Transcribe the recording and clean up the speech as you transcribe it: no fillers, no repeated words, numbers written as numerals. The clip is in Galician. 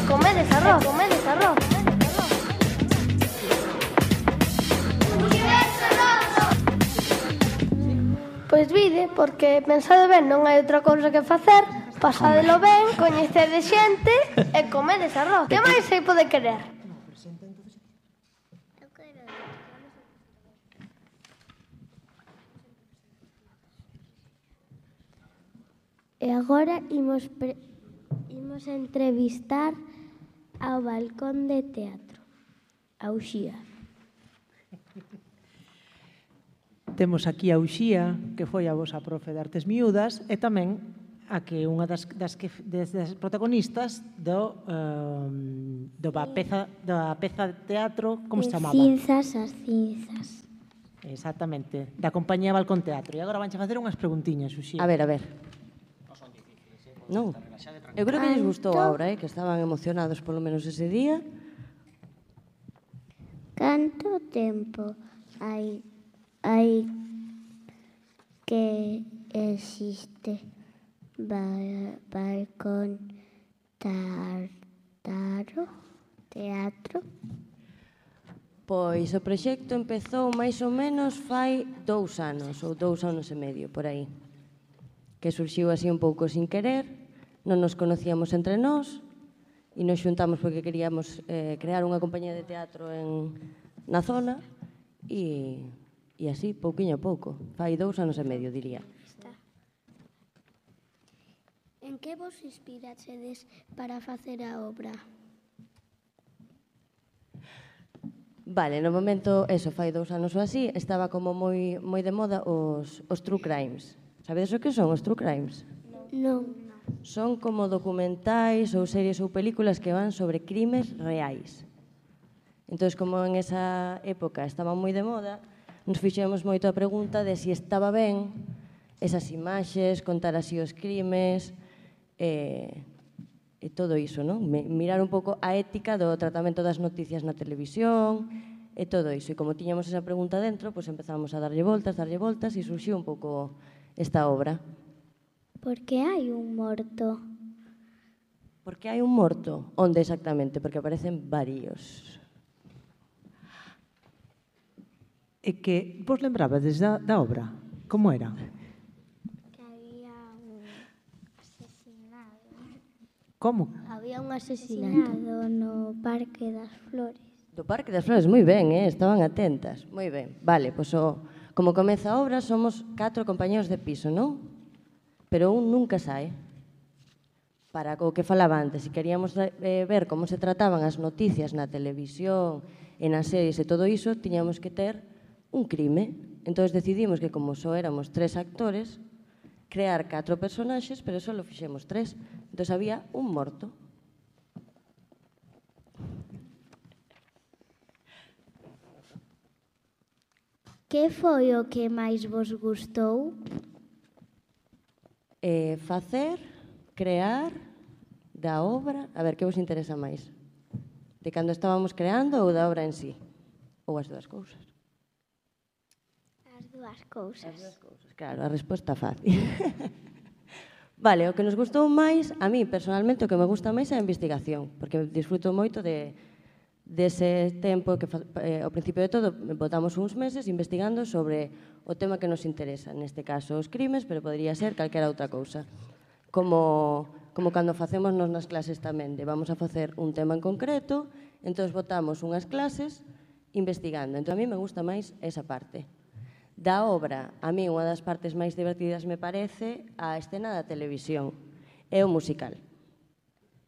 comedes arroz, comedes arroz. Pois vide, porque pensade ben, non hai outra cousa que facer, pasadelo ben, coñecedes xente e comedes arroz. Que máis se pode querer? E agora imos entrevistar ao balcón de teatro, a Uxía. Temos aquí a Uxía, que foi a vosa profe de Artes Miúdas, e tamén a que unha das protagonistas da peza de teatro, como se chamaba? Cinzas, as cinzas. Exactamente, da compañía Balcón Teatro. E agora vanche facer unhas preguntiñas, Uxía. A ver. Non, eu creo que lles gustou a obra, que estaban emocionados polo menos ese día. Canto tempo hai que existe balcón teatro? Pois o proxecto empezou máis ou menos fai 2 anos, ou 2 anos e medio, por aí. Que surxiu así un pouco sin querer, non nos conocíamos entre nós, e nos xuntamos porque queríamos crear unha compañía de teatro na zona, e así, pouquiño a pouco. Fai 2 anos e medio, diría. En que vos inspiraxedes para facer a obra? Vale, no momento, fai 2 anos ou así, estaba como moi de moda os true crimes. Sabedes o que son os true crimes? Non. Son como documentais ou series ou películas que van sobre crimes reais. Entón, como en esa época estaba moi de moda, nos fixemos moito a pregunta de se estaba ben esas imaxes, contar así os crimes e todo iso, non? Mirar un pouco a ética do tratamento das noticias na televisión e todo iso. E como tiñamos esa pregunta dentro, pois empezamos a darlle voltas e surxiu un pouco esta obra. Por que hai un morto? Por que hai un morto? Onde exactamente? Porque aparecen varios. E que vos lembrabades da obra? Como era? Que había un asesinado. Como? Había un asesinado no Parque das Flores. Do Parque das Flores, moi ben, estaban atentas. Moi ben. Vale, pois como comeza a obra, somos 4 compañeros de piso, non? Pero un nunca sae. Para o que falaba antes, se queríamos ver como se trataban as noticias na televisión, e nas series e todo iso, tiñamos que ter un crime. Entón decidimos que como só éramos 3 actores, crear 4 personaxes, pero só lo fixemos 3. Entón había un morto. Que foi o que máis vos gustou? Facer, crear, da obra. A ver, que vos interesa máis? De cando estábamos creando ou da obra en sí? Ou as dúas cousas? As dúas cousas. As dúas cousas, claro, a resposta fácil. Vale, o que nos gustou máis, a mí personalmente o que me gusta máis é a investigación, porque disfruto moito dese tempo que ao principio de todo botamos uns meses investigando sobre o tema que nos interesa, neste caso os crimes, pero podría ser calquera outra cousa. Como cando facemos nos nas clases tamén, vamos a facer un tema en concreto, entón botamos unhas clases investigando. Entón a mí me gusta máis esa parte. Da obra, a mí unha das partes máis divertidas me parece a escena da televisión, é o musical.